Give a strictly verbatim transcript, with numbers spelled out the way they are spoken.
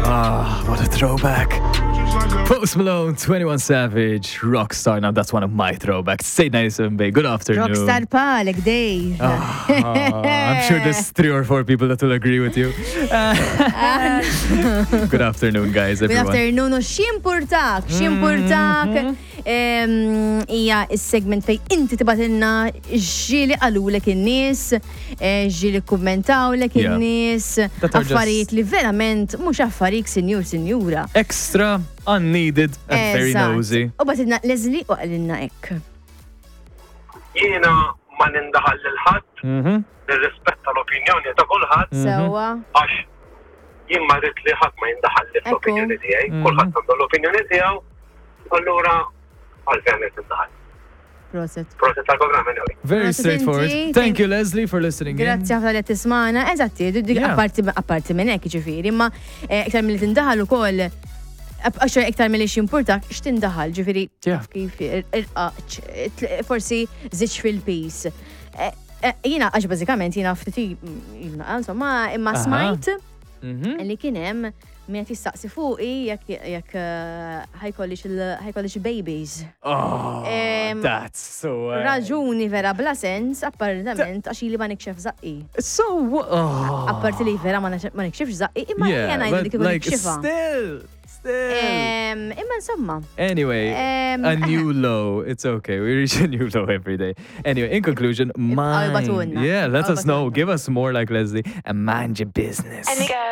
Ah, what a throwback. Post Malone, twenty-one Savage, Rockstar. Now that's one of my throwbacks. State ninety-seven Bay. Good afternoon. Rockstar bħalek, Dave. Ah, I'm sure there's three or four people that will agree with you. Good afternoon, guys, Good everyone. Afternoon, u x'impurtak, x'impurtak. Em, Hija is-segment fej inti tibgħatilna x'ġieli qalulek in-nies, eh, x'ġieli kummentawlek Yeah. in-nies, That are just- affarijiet li verament mhux affarik, sinjur, sinjura. Extra, unneeded, and very Eżatt. Nosy. U bagħtilna Leslie u qalilna hekk. Jiena ma nindaħal lil ħadd, Mhm. nirrispetta l-opinjoni ta' kulħadd Sewwa. għax jien ma rrid li ħadd ma jindaħal li fl-opinjoni tiegħi, kulħadd għandu l-opinjoni tiegħu, allura għalfejn qed nindaħal. Proset. Proset tal-programm anyway. Very Proset straightforward. inti. Thank you, Leslie, for listening in. Grazzi ħafna li qed tismagħna. Eżatti, dik Yeah. apparti apparti minn hekk ġifieri, imma eh, iktar milli tindaħal ukoll għax iktar milli x'impurtak x'tindaħal, ġifieri Yeah. kif irqaq, forsi żidx fil-piż. Eh, eh, Jiena għax bażikament jiena ftit jiena insomma imma Aha. smajt Mhm. li kien hemm min qed jistaqsi fuqi jekk jekk eh, ħa jkollix il- ħa jkollix babies. Oh, Em, that's so. Uh, Raġuni vera bla sens, apparentament, għax ili ma nikxef zaqqi. So what? Oh. Apparti li vera ma nax- ma nikxifx zaqqi, imma Yeah, jena ngħidu but li kieku like nikxifha. still, still. Em, Imma insomma, Anyway, Em, a new low. It's okay. We reach a new low every day. Anyway, in conclusion, mind. Ibagħtulna. Yeah, let us know. Ibagħtulna. Give us more like Leslie and mind your business.